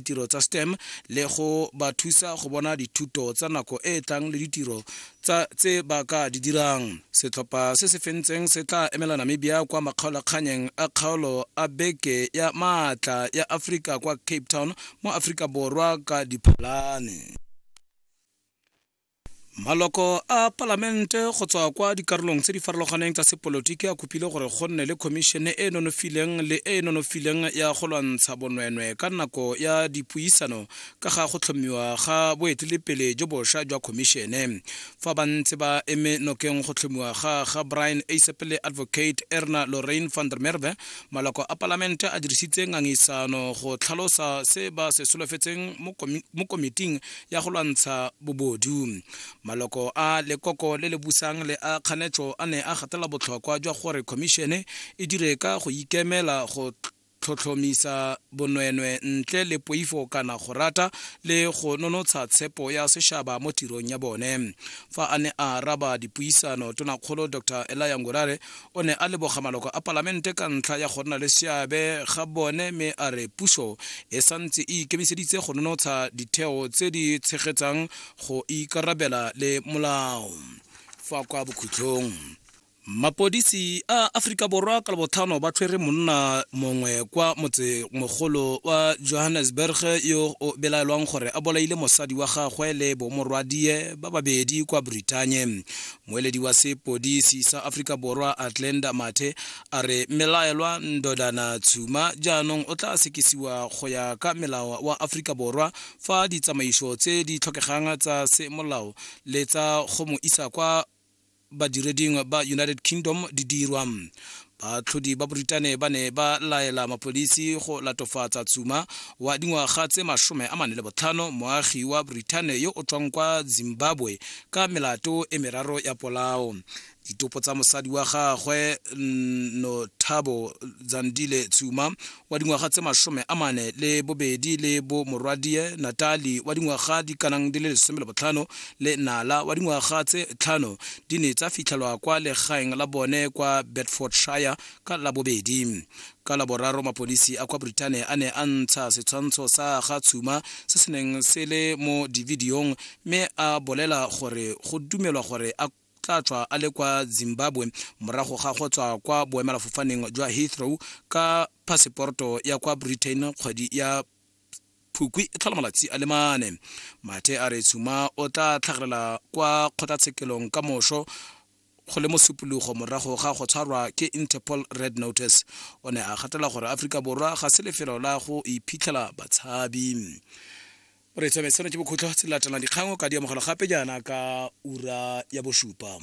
ditiro tsa STEM le go ba thusa go bona dithuto tsa nako e e tlang le ditiro tsa tse ba ka di dirang. Setlhopha se se fentseng se tla emela Namibia kwa makgaolakganyeng a kgaolo a beke ya maatla ya Aforika kwa Cape Town mo Aforika Borwa ka Diphalane. Maloko a palamente go tswa kwa dikarolong tse di farologaneng tsa sepolotiki a kopile gore go nne le khomišene e e nonofileng le e e nonofileng ya go lwantsha bonweenwee ka nako ya dipuisano ka ga go tlhomiwa ga boeteledipele jo bosha jwa khomišene. Fa ba ntse ba eme nokeng go tlhomiwa ga ga Brian Eisep le Advocate Erna Lorraine van der Merwe, maloko a palamente a dirisitse ngangisano go tlhalosa se ba se solofetseng mo komiting ya go lwantsha bobodu. Maloko a lekoko le le busang le a kganetso a ne a gatelela botlhokwa jwa gore khomišene e dire ka go ikemela go tlhotlhomisa bonweenwee ntle le poifo kana go rata le go nonotsha tshepo ya sešaba mo tirong ya bone. Fa a ne a araba dipuisano, Tonakgolo Dr Elia Ngurare o ne a leboga maloko a palamente ka ntlha ya go nna le seabe ga bone mme a re puso e santse e ikemiseditse go nonotsha ditheo tse di tshegetsang go ikarabela le molao. Fa kwa bokhutlong, mapodisi a Aforika Borwa ka Labotlhano ba tshwere monna mongwe kwa motsemogolo wa Johannesburg yo o belaelwang gore a bolaile mosadi wa gagwe le bomorwadie ba babedi kwa Britannia. Moeledi wa sepodisi sa Aforika Borwa Atlenda Mathe a re mmelaelwa Ndodana Tshuma jaanong o tla sekisiwa go ya ka melao wa Aforika Borwa fa ditsamaiso tse di tlhokegang tsa semolao le tsa go mo isa kwa badireding ba United Kingdom di dirwa. Baatlhodi ba Boritane ba ne ba laela mapodisi go latofatsa Tsuma wa dingwaga tse 45, moagi wa Boritane yo o tswang kwa Zimbabwe, ka melato e meraro ya polao. Ditopo tsa mosadi wa gagwe Nothabo Zandile Tsuma wa dingwaga tse 42 le bo morwadie Natalie wa dingwaga di kanang di le 15 le Nala wa dingwaga tse 5 di ne tsa fitlhelwa kwa legaeng la bone kwa Bedfordshire ka Labobedi. Ka Laboraro mapodisi a kwa Britain a ne a ntsha setshwantsho sa ga Tshuma se se neng se le mo divideong mme a bolela gore go dumelwa gore a tla tswa a le kwa Zimbabwe morago ga go tswa kwa boemelafofaneng jwa Heathrow ka phaseporto ya kwa Britain kgwedi ya Phukwi e tlhola malatsi a le mane. Mathe a re Tshuma o tla tlhagelela kwa kgotlatshekelong ka moso go le mosupologo morago ga go tshwarwa ke Interpol Red Notice. O ne a gatela gore Aforika Borwa ga se lefelo la go iphitlhela batshabi. Re tswame seno ke bokhutlo tse di latelang dikgang o ka di amogela gape jaana ka ura ya bosupa.